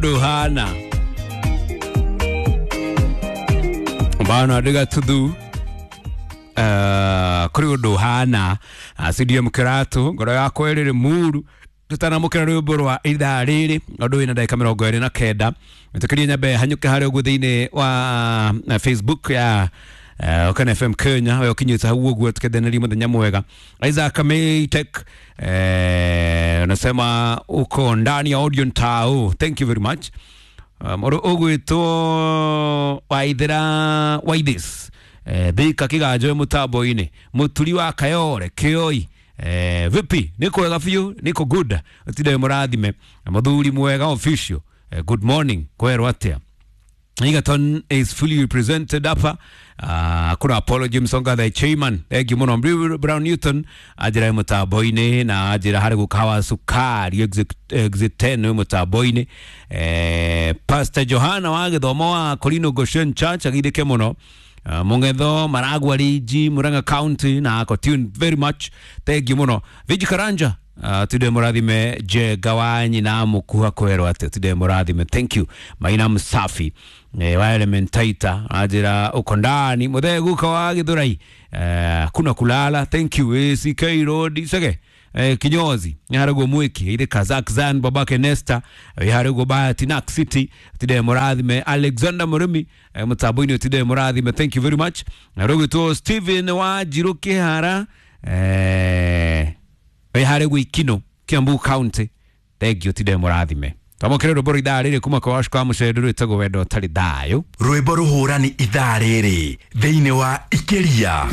Ũndũ ũhana bana ndiga tuthu kũrĩ ũndũ ũhana CDM Kĩratũ ngoro yakwa ĩrĩ muru tutanamũkĩra rwĩmbo rwa ithaa rĩrĩ ũndũ wĩna ndagĩka 29 ĩtĩkĩrie nyambe hanyũke harĩa ũguo thĩinĩ wa Facebook ya Okan FM Kenya we ũkinyĩte hau ũguo tukendenerie mũthenya mwega. Isaac Maytek unasema uko ndani ya Audion Tao, thank you very much. Mũndũ ũgwĩtwo Waithera Waithis Thika Kĩganjo mũtambo-inĩ mũturi wa Kayore Kĩoi vipi niko wega biũ niko good ũtinde mũrathime mũthuri mwega official good morning kwerwo atĩa. Egerton is fully represented hapa. Kuna Apollo James Onga the chairman. Thank you muno. Brown Newton ajira mutambo-inĩ na ajira harĩ gukawa sukari exit 10 mutambo-inĩ. Pastor Johana wa gĩthomo wa Kolino Goshen Church agithĩke mũno. Mungetho Maragwa Riji Murang'a County na ako tuned very much. Thank you muno. Viji Karanja tude murathime Jenga wa nyina mukuha kwerwo atia tude murathime thank you Maina Msafi wa Elementaita ajira uko ndani muthee guka wa Githurai kuna kulala thank you ACK Road sege kinyozi haragwo mwiki ile Kazakhstan babake Nesta haragwo Bahati Nak City tude murathime Alexander Murimi mutambo-inĩ tude murathime thank you very much na rũgwĩtwo Steven wa Njiru Kihara harĩ gwikino Kiambu County thank you tide mũrathime twamũkĩre rwĩmbo rwa ithaa rĩrĩ kuma kwa Washiko wa Mũcendu rwĩtagwo wendo ũtarĩ thayũ rwĩmbo rũhũrani ithaa rĩrĩ thĩinĩ wa Ikĩria.